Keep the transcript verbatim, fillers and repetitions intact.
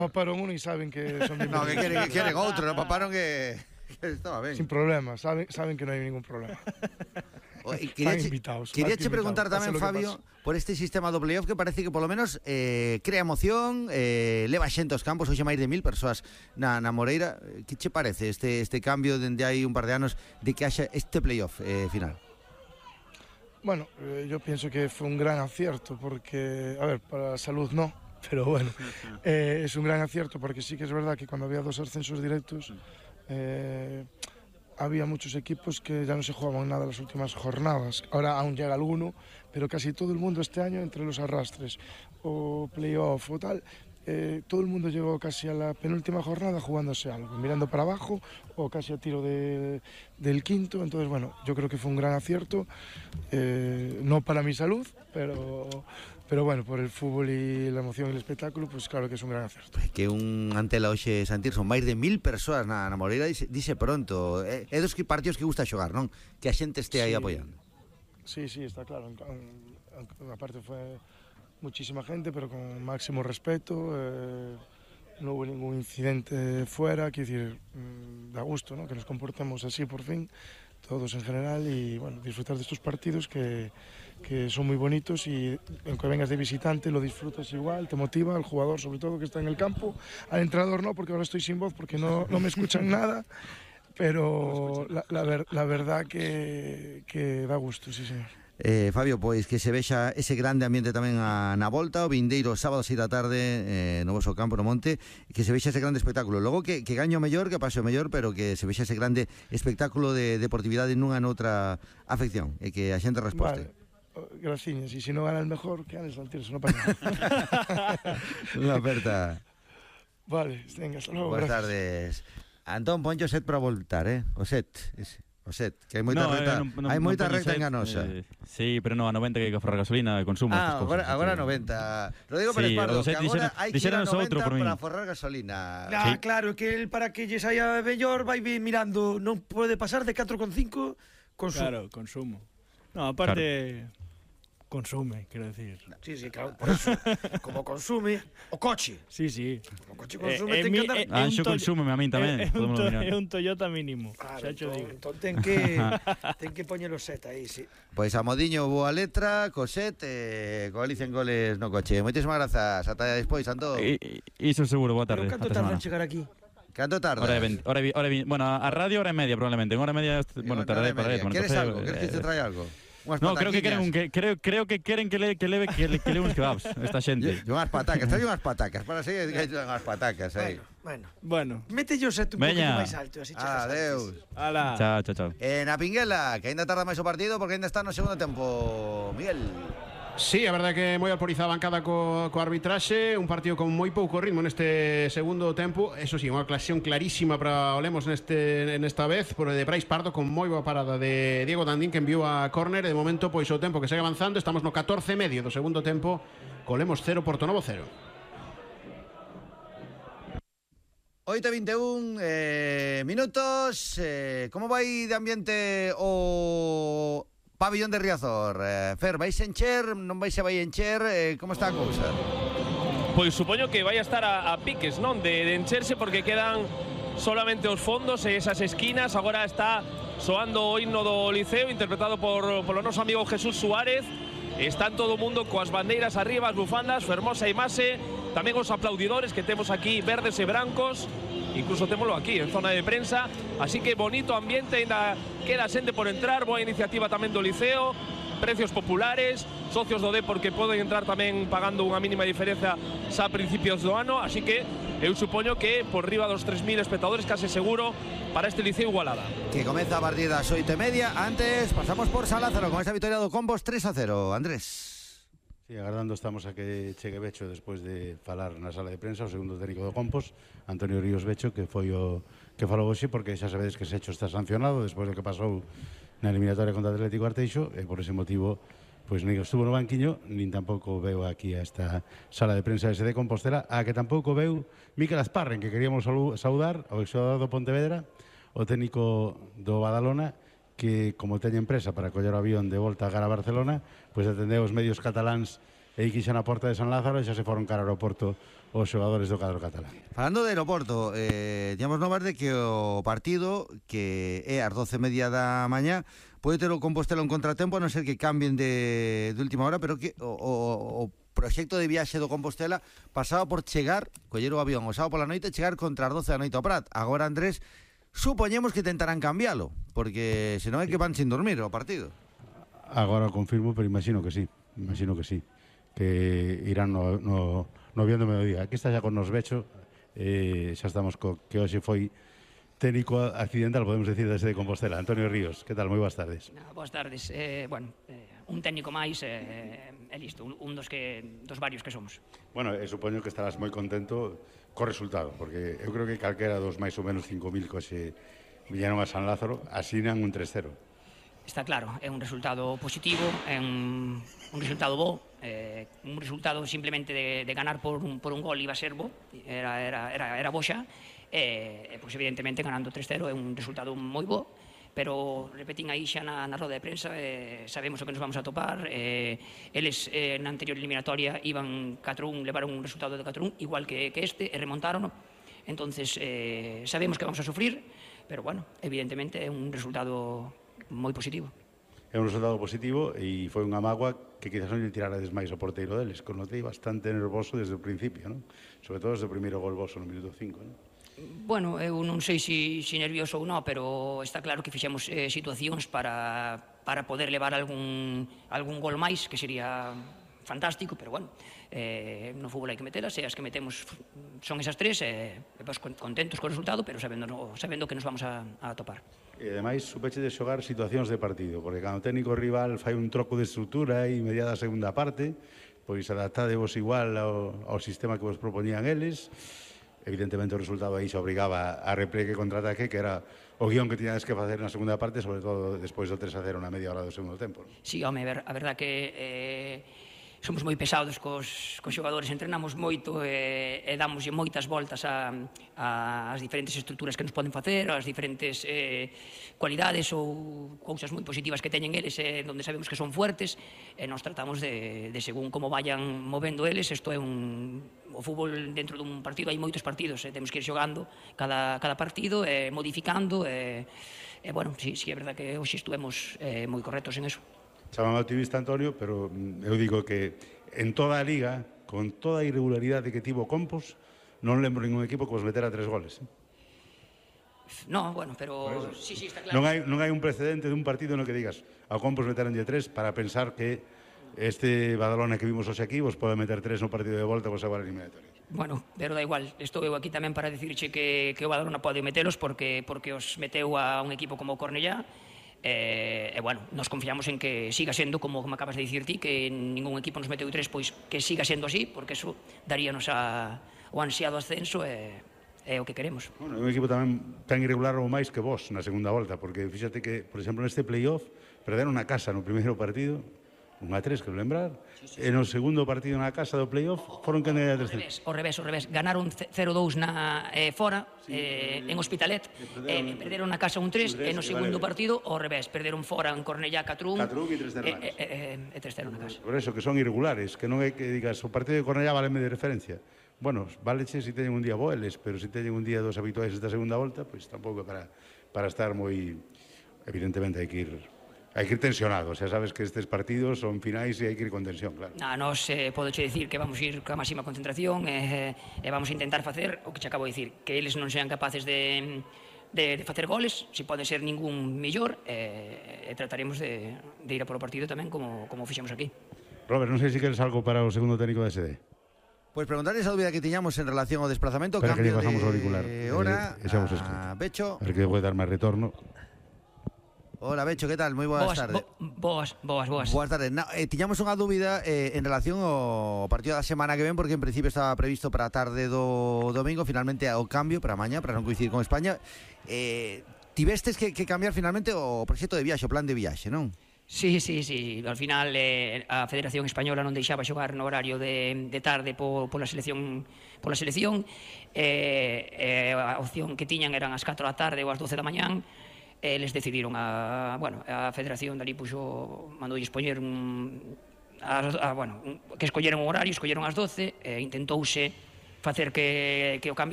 paparon uno e saben que son No, que queren, que queren outro, non paparon que, que estaba ben. Sin problema, saben, saben que non hai ningún problema. O, quería Están che, invitados. Quería che invitados, preguntar tamén, Fabio, por este sistema do playoff que parece que polo menos eh, crea emoción, eh, leva xente aos campos, hoxe máis de mil persoas na, na Moreira. Que che parece este, este cambio dende hai un par de anos de que haxa este playoff eh, final? Bueno, eh, yo pienso que fue un gran acierto porque, a ver, para la salud no, pero bueno, eh, es un gran acierto porque sí que es verdad que cuando había dos ascensos directos eh, había muchos equipos que ya no se jugaban nada las últimas jornadas. Ahora aún llega alguno, pero casi todo el mundo este año entre los arrastres o playoff o tal, Eh, todo el mundo llegó casi a la penúltima jornada jugándose algo, mirando para abajo o casi a tiro de, del quinto. Entonces, bueno, yo creo que fue un gran acierto, eh, no para mi salud, pero, pero bueno, por el fútbol y la emoción y el espectáculo, pues claro que es un gran acierto. Que un Antela hoxe, Santir, son máis de mil persoas na, na Moreira, dice, dice pronto, é, é dos que partidos que gusta xogar, non? Que a xente este aí sí, apoiando. Sí, sí, está claro, aparte fue muchísima gente, pero con máximo respeto, eh, no hubo ningún incidente fuera, quiero decir, mmm, da gusto, ¿no? Que nos comportemos así por fin, todos en general, y bueno, disfrutar de estos partidos que, que son muy bonitos y aunque vengas de visitante lo disfrutas igual, te motiva, al jugador sobre todo que está en el campo, al entrenador no, porque ahora estoy sin voz porque no, no me escuchan nada, pero la, la, ver, la verdad que, que da gusto, sí señor. Eh, Fabio, pois que se vexa ese grande ambiente tamén a, na volta, o vindeiro sábado seis da tarde eh, no voso campo no Monte, que se vexa ese grande espectáculo. Logo que, que gaño o mellor, que pase o mellor, pero que se vexa ese grande espectáculo de deportividade nunha noutra afección e que a xente resposte. Vale. Graciñas, e se non gana el mejor, que gane Santir, se non pasa nada. Unha aperta. Vale, venga, hasta luego. Boas tardes. Antón, poncho set para voltar, eh? O set, ese. O set, que hai moita no, reta, eh, non, non, hai moita non recta set, enganosa. Eh, sí, pero non, a noventa que hai que forrar gasolina e consumo. Ah, agora, agora a noventa. Rodrigo Pérez sí, Pardo, que agora hai que ir a noventa para forrar gasolina. Ah, sí. Claro, que el para que lle saia mellor vai mirando, non pode pasar de catro con cinco consumo. Claro, consumo. No, aparte... Claro. Consume, quero decir. Sí, sí, claro, por eso. Como consume o coche. Sí, sí. O coche consume, eh, ten mi, que andar... Eh, ah, xo consume a min tamén. É un, to, un Toyota mínimo. Claro, xa cho digo. Entón ten que ten que poñer o set aí, sí. Pois a modiño boa letra, co set, eh, co Alicia en goles no coche. Moitísimas grazas, ata despois, Antón. Iso seguro, boa tarde. Pero canto tarda en chegar aquí? Canto tarda? Hora de hora hora bueno, a radio hora e media probablemente. En hora e media, bueno, tardaré para ir. Queres algo? Queres que te traia algo? No, creo que queren un, que, creo, creo que queren que le que leve que le que le uns kebabs esta xente. Yo unhas patacas, trae unhas patacas, para seguir que hai unhas patacas aí. Bueno, bueno. Mete yo set un poquito máis alto, así chegas. Adeus. Ala. Chao, chao, chao. Eh, na Pinguela, que aínda tarda máis o partido porque aínda está no segundo tempo. Miguel. Sí, a verdade que moi alporizada a bancada co, co arbitraxe, un partido con moi pouco ritmo neste segundo tempo. Eso sí, unha ocasión clarísima para o Lemos neste, nesta vez, por de Brais Pardo con moi boa parada de Diego Dandín que enviou a córner. De momento, pois o tempo que segue avanzando, estamos no catorce e medio do segundo tempo, co Lemos cero, Portonovo cero. oito e vinte e un eh, minutos. Eh, como vai de ambiente o pabillón de Riazor? Eh, Fer, vais encher, non vais a vai encher, eh, como está a cousa? Pois supoño que vai a estar a, a piques, non? De, de encherse porque quedan solamente os fondos e esas esquinas. Agora está soando o himno do Liceo, interpretado por, por o noso amigo Jesús Suárez. Están todo o mundo coas bandeiras arriba, as bufandas, fermosa imaxe. Tamén os aplaudidores que temos aquí, verdes e brancos. Incluso témolo aquí, en zona de prensa. Así que bonito ambiente, ainda queda xente por entrar. Boa iniciativa tamén do Liceo. Precios populares, socios do Depor que poden entrar tamén pagando unha mínima diferenza xa a principios do ano. Así que eu supoño que por riba dos tres mil espectadores, case seguro, para este Liceo Igualada. Que comeza a partir das oito e media. Antes pasamos por San Lázaro con esa victoria do Compos tres a cero. Andrés. Sí, agardando estamos a que chegue Becho despois de falar na sala de prensa, o segundo técnico do Compos, Antonio Ríos Becho, que foi o que falou hoxe, porque xa sabedes que Secho está sancionado despois do que pasou na eliminatoria contra o Atlético Arteixo, e por ese motivo pois nin estuvo no banquiño, nin tampouco veu aquí a esta sala de prensa ese de Compostela, a que tampouco veu Mikel Azparren, que queríamos saudar, o exoador do Pontevedra, o técnico do Badalona, que como teña empresa para coller o avión de volta a cara a Barcelona, pois atendeu os medios cataláns e quixen a porta de San Lázaro e xa se foron cara ao aeroporto os xogadores do cadro catalán. Falando de aeroporto, eh, digamos novas de que o partido, que é ás doce e media da mañá, pode ter o Compostela un contratempo, a non ser que cambien de, de última hora, pero que o, o, o proxecto de viaxe do Compostela pasaba por chegar, coller o avión o sábado pola noite, chegar contra as doce da noite ao Prat. Agora, Andrés, supoñemos que tentarán cambiálo, porque senón é que van sin dormir o partido. Agora confirmo, pero imagino que sí, imagino que sí, que irán no, no, no avión do mediodía. Aquí está xa con nos Becho, eh, xa estamos co que hoxe foi técnico accidental, podemos decir, desde Compostela. Antonio Ríos, que tal? Moi boas tardes. No, boas tardes. Eh, bueno, eh, un técnico máis é eh, listo, un, un dos que dos varios que somos. Bueno, eh, supoño que estarás moi contento co resultado, porque eu creo que calquera dos máis ou menos cinco mil que hoxe viñeron a San Lázaro asinan un tres cero. Está claro, é un resultado positivo, é un, un resultado bo, eh, un resultado simplemente de, de ganar por un, por un gol iba a ser bo, era, era, era, era bo xa, e, eh, pois evidentemente ganando tres cero é un resultado moi bo, pero repetín aí xa na, na roda de prensa, eh, sabemos o que nos vamos a topar, eh, eles eh, na anterior eliminatoria iban catro un, levaron un resultado de catro un, igual que, que este, e remontaron, entonces eh, sabemos que vamos a sufrir, pero bueno, evidentemente é un resultado moi positivo. É un resultado positivo e foi unha mágoa que quizás non lle tirarades máis ao porteiro deles, que o notei bastante nervoso desde o principio, non? Sobre todo desde o primeiro gol voso no minuto cinco, non? Bueno, eu non sei se si, si nervioso ou non, pero está claro que fixemos eh, situacións para, para poder levar algún, algún gol máis, que sería fantástico, pero bueno, eh, no fútbol hai que metelas, e as que metemos son esas tres, e eh, pues, contentos co resultado, pero sabendo, sabendo que nos vamos a, a topar. E ademais, supeche de xogar situacións de partido, porque cando o técnico rival fai un troco de estrutura e mediada a segunda parte, pois adaptadevos igual ao, ao sistema que vos propoñían eles. Evidentemente o resultado aí se obrigaba a repliegue e contraataque, que era o guión que tiñades que facer na segunda parte, sobre todo despois do tres a cero na media hora do segundo tempo. Sí, home, a verdad que eh, somos moi pesados cos, cos xogadores, entrenamos moito e, e damoslle moitas voltas a, a, as diferentes estruturas que nos poden facer, as diferentes eh, cualidades ou cousas moi positivas que teñen eles, eh, donde sabemos que son fuertes, e nos tratamos de, de según como vayan movendo eles. Isto é un... o fútbol dentro dun partido hai moitos partidos, eh, temos que ir xogando cada, cada partido, eh, modificando, e eh, eh, bueno, sí, sí, é verdad que hoxe estuvemos eh, moi correctos en eso. Chamame optimista, Antonio, pero eu digo que en toda a liga, con toda a irregularidade que tivo Compos, non lembro ningún equipo que vos metera tres goles. No, bueno, pero sí, sí, está claro. Non hai, non hai un precedente dun partido no que digas ao Compos meteranlle tres para pensar que este Badalona que vimos hoxe aquí vos pode meter tres no partido de volta vos a la eliminatoria. Bueno, pero da igual, estou eu aquí tamén para dicirche que, que o Badalona pode metelos porque, porque os meteu a un equipo como o Cornellá. E, e bueno, nos confiamos en que siga sendo, como me acabas de dicir ti, que ningún equipo nos meteu tres, pois que siga sendo así, porque eso daríanos a, o ansiado ascenso e é o que queremos. Bueno, é un equipo tamén tan irregular ou máis que vos na segunda volta, porque fíxate que, por exemplo, neste playoff perderon a casa no primeiro partido, un a tres, que lembrar, sí, sí, sí. E no segundo partido na casa do playoff foron que andei a tres. O revés, o revés, ganaron cero dous na eh, fora, sí, eh, en Hospitalet, e eh, perderon na casa un tres, e no segundo vale, partido o revés, perderon fora en Cornellá catro un, catro un e tres cero e, e, e tres cero na casa. Por eso, que son irregulares, que non é que digas, o partido de Cornellá váleme de referencia. Bueno, váleche se si teñen un día boeles, pero se si teñen un día dos habituais esta segunda volta, pois pues, tampouco para, para estar moi... Evidentemente hai que ir... Hai que ir tensionado, xa sabes que estes partidos son finais e hai que ir con tensión, claro. Na, nos eh, podoche dicir que vamos ir coa máxima concentración e, e vamos a intentar facer o que te acabo de dicir, que eles non sean capaces de, de, de facer goles, se pode ser ningún millor, e, e trataremos de, de ir a por o partido tamén como, como fixemos aquí. Robert, non sei se queres algo para o segundo técnico da S D. Pois pues preguntarles a dúbida que tiñamos en relación ao desplazamento, Espera cambio que pasamos de auricular. hora eh, a Becho. A ver que pode dar máis retorno. Hola, Becho, que tal? Moi boas, boas tardes. Bo, boas, boas, boas. Boas tardes. No, eh, tiñamos unha dúbida eh, en relación ao partido da semana que ven, porque en principio estaba previsto para a tarde do domingo, finalmente ao cambio para mañá, para non coincidir con España. Eh, tivestes que, que cambiar finalmente o proxecto de viaxe, o plan de viaxe, non? Sí, sí, sí. Al final eh, a Federación Española non deixaba xogar no horario de, de tarde po, pola selección, pola selección. Eh, eh, a opción que tiñan eran as catro da tarde ou as doce da mañán. Eles decidiron a, bueno, a Federación dali puxo, mandoulle expoñer un, a, a, bueno, un, que escolleron un horario, escolleron as doce, e intentouse facer que, que o cambiara